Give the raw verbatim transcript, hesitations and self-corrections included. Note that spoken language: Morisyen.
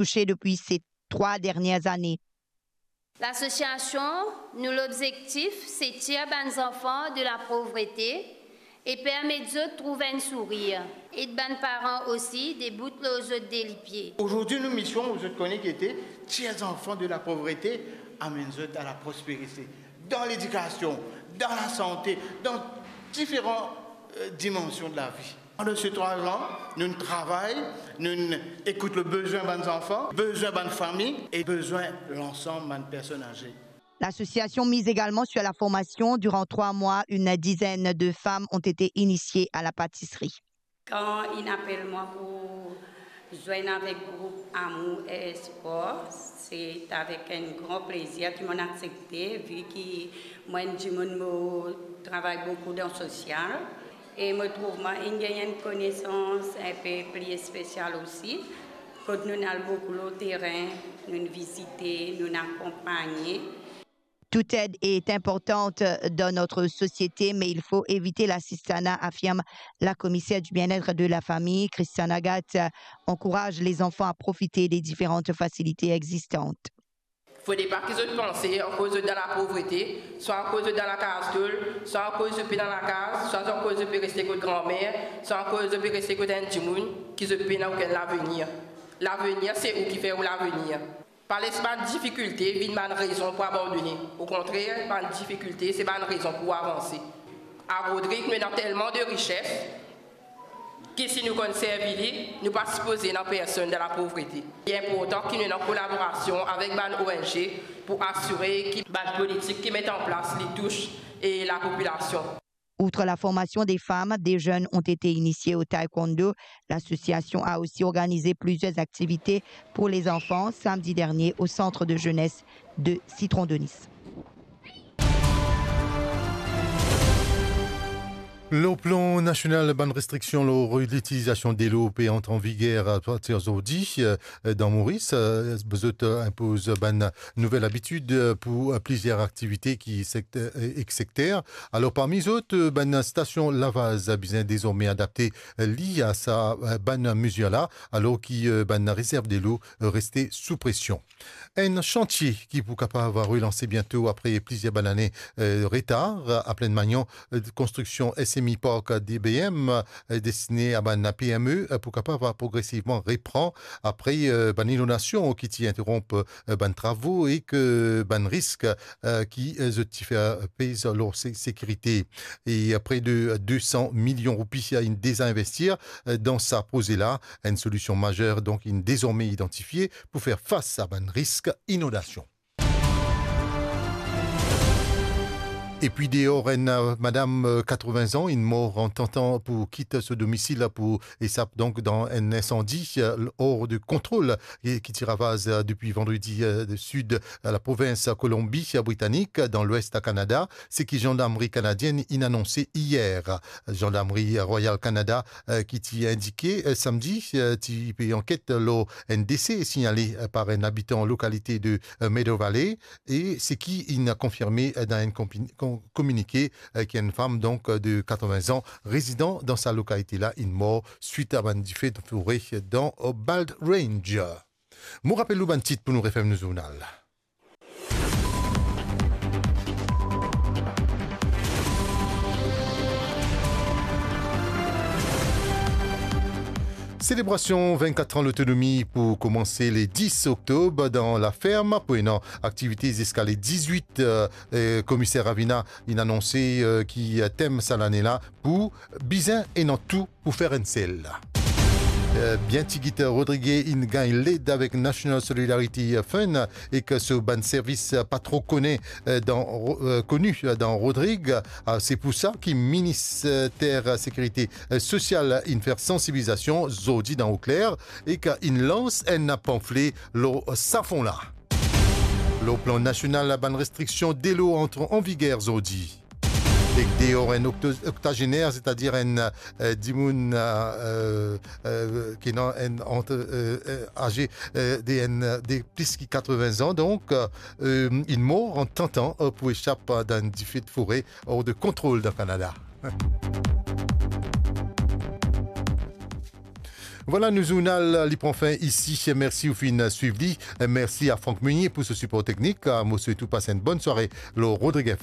touche depi se trwa dernie zane. Lasosiasion, nou lobzektif se tir bann zanfan de lapovrete e permet zot trouv enn sourir, ed bann paran osi debout lor zot de lipie. Aujourd'hui, nou mision, zot kone ki ete, tir zanfan de lapovrete, amenn zot a laprosperite, dan ledikasion, dan lasante, dan diferan, euh, dimansion de lavi. Pandan se trwa an, nou travay, nou ekout le bezwin bann zanfan, bezwin bann fami e bezwin lansam bann personn aze. L'association mise également sur la formation. Durant trois mois, une dizaine de femmes ont été initiées à la pâtisserie. Kan inn apel mwa pou zwenn avek group Amour et Espoir, se avek enn gran plezir ki monn aksepte, vi ki mwa enn dimoun mo travay boukou dan sosial, e mo trouv mwa inn gagn enn konesans enpe pli espesial osi, kot nou'nn al boukou lor terin, nou'nn vizite, nou'nn akonpagne. Toute aide est importante dans notre société, mais il faut éviter l'assistanat, affirme la commissaire du bien-être et de la famille, Christiane Agathe, encourage les enfants à profiter des différentes facilités existantes. Fode pa ki zot panse akoz zot dan lapovrete, swa akoz zot dan lakaz tol, swa akoz zot pe dan lakaz, swa akoz zot pe reste kot granmer, swa akoz zot pe reste kot enn dimoun ki zot pena okenn lavenir. Lavenir, se ou ki fer ou lavenir. Pa les bann difikilte vinn bann rezon pou abandone. Okontrer, bann difikilte se bann rezon pou avanse. A Rodrig, nou ena telman de rises, ki si nou konn servi li, nou pa sipoze ena personn dan lapovrete. Li inportan ki nou ena kolaborasion avek bann O N G pou asire ki bann politik ki met an plas li tous e lapopilasion. Outre la formation des femmes, des jeunes ont été initiés au taekwondo. L'association a aussi organisé plusieurs activités pour les enfants samedi dernier au centre de jeunesse de Citron de Nice. Lor plan nasional, bann restriksion lor litilizasion delo pe antre an viger apartir zordi, eh, dan Moris. Eh, zot, eh, inpoz bann nouvel abitid, eh, pou, eh, plizier aktivite ki sekt-, eh, ek sekter. Alor, parmi zot, eh, bann stasion lavaz bizin dezorme adapte, eh, li a sa, eh, bann mezir la, alor ki, eh, bann rezerv delo, eh, reste sou presion. Enn santie ki pou kapav relanse biento apre plizier bann lane, eh, retar. A Plaine Magnan, eh, konstriksion S M I Park D B M, eh, destine a bann P M E, eh, pou kapav progresivman repran apre, eh, bann inondasion ki ti interonp, eh, bann travo ek bann risk, eh, ki, eh, zot ti fer pez lor se-, sekirite. E pre de de san milion roupi inn deza inverti, eh, dan sa proze la. Enn solision mazer, donk, inn dezorme idantifie pou fer fas a bann risk inondasion. Epi deor, enn, eh, madam, eh, katrevin an inn mor an tantan pou kit so domisil pou esap, donk, dan enn insandi, eh, or de kontrol, eh, ki ti ravaz, eh, depi vandredi, eh, de sid, eh, laprovins Kolonbi Britanik, dan lwes Kanada, seki zandarmri kanadienn inn anonse iyer. Zandarmri Royal Canada, eh, ki ti indike, eh, samdi, eh, ti pe anket lor enn dese signale, eh, par enn abitan lokalite de, eh, Meadow Valley, e seki inn konfirme, eh, dan enn konpi-, kon-, kominike, eh, ki enn fam, donk, eh, de katrevin an, rezidan dan sa lokalite la, inn mor swit a bann dife de fore dan, eh, Bald Range. Mo rapel ou bann tit pou nou referm nou zournal. Selebrasion vinn-kat an lotonomi pou koumanse le dis oktob dan Laferm, pou ena aktivite ziska le dizwit, eh, eh, Komiser Ravina inn anonse, eh, ki, eh, tem sa lane la pou bizin ena tou pou fer enn sel. Eh, bien tigit Rodrig inn gagn led avek National Solidarity Fund ek so bann servis pa tro kone, eh, dan Ro-, eh, koni, eh, dan Rodrig. Ah, se pou sa ki Minister Sekirite, eh, Sosial inn fer sansibilizasion zordi dan Eau Claire ek inn lans enn panfle lor sa fon la. Lor plan nasional, bann restriksion delo antre an viger zordi. Ek deor enn okto-, oktazener, setadir enn, eh, dimoun, eh, eh, eh, ki ena enn ant, eh, eh, aze, eh, de enn, eh, de plis ki katrevin an, donk, eh, inn mor an tantan, eh, pou esap, eh, dan enn dife de fore or de kontrol dan Kanada. Vwala, nou zournal li pran fin isi. Mersi ou finn swiv li. Mersi a Franck Meunier pou so sipor teknik. Mo swet ou pas enn bonn sware lor Rodrig F M.